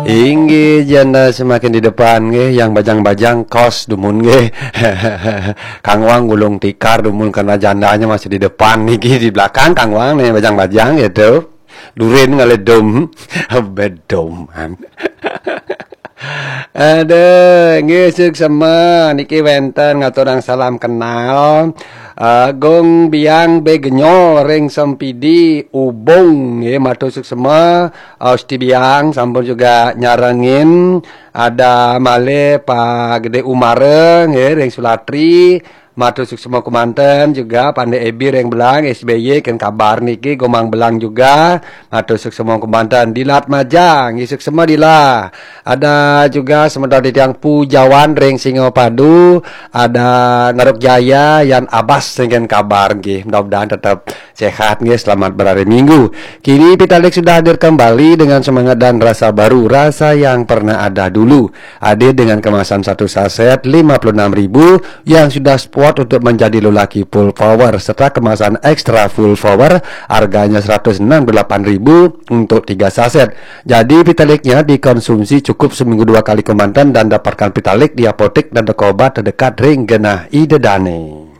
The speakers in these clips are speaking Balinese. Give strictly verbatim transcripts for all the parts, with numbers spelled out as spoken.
Inggih, janda semakin di depan nggih, yang bajang-bajang kos dumun nggih. Kang Wang gulung tikar dumun karena jandanya masih di depan niki, di belakang Kang Wang nih bajang-bajang gitu. Durin ngalih dum. Bedoman. Aduh, nggih suksema niki wénten ngaturang salam kenal. Agung Biang Begenyo ring Sempidi Ubung nggih matur suksema. Usti Biang sampun juga nyarengin, ada malih Pak Gede Umara nggih ring Sulatri, matur suksema kumanten juga Pande Ebi ring Belang, S B Y ken kabar niki Gomang Belang juga, matur suksema kumanten. Dilat Majang, nggih suksema Dila. Ada juga semeton titiang Pujawan ring Singapadu, ada Naruk Jaya, Yan Abas ring ken kabar nggih. Mudah-mudahan tetap sehat nggih, selamat berhari Minggu. Kini Pitalik sudah hadir kembali dengan semangat dan rasa baru, rasa yang pernah ada dulu. Hadir dengan kemasan satu saset lima puluh enam ribu yang sudah spot untuk menjadi lelaki full power serta kemasan extra full power harganya seratus enam puluh delapan ribu untuk tiga saset. Jadi Pitaliknya dikonsumsi cukup seminggu dua kali kemanten dan dapatkan Pitalik di apotek dan toko obat terdekat ring genah Ida Dane.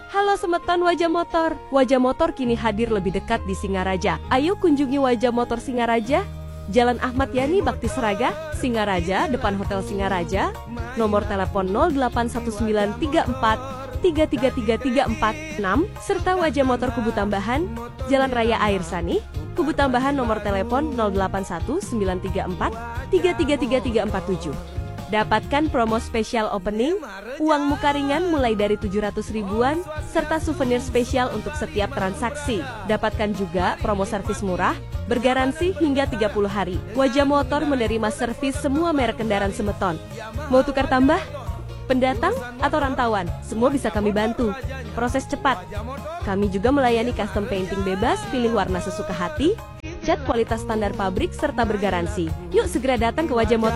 Halo semeton Wajah Motor. Wajah Motor kini hadir lebih dekat di Singaraja. Ayo kunjungi Wajah Motor Singaraja, Jalan Ahmad Yani Bakti Seraga, Singaraja, depan Hotel Singaraja. Nomor telepon nol delapan satu sembilan tiga empat tiga tiga tiga tiga empat enam, serta Wajah Motor Kubu Tambahan, Jalan Raya Air Sanih, Kubu Tambahan, nomor telepon nol delapan satu sembilan tiga empat tiga tiga tiga tiga empat tujuh. Dapatkan promo spesial opening, uang muka ringan mulai dari tujuh ratus ribuan, serta souvenir spesial untuk setiap transaksi. Dapatkan juga promo servis murah, bergaransi hingga tiga puluh hari. Wajah Motor menerima servis semua merek kendaraan semeton. Mau tukar tambah? Pendatang atau rantauan, semua bisa kami bantu. Proses cepat. Kami juga melayani custom painting bebas, pilih warna sesuka hati, cat kualitas standar pabrik, serta bergaransi. Yuk segera datang ke Wajah Motor.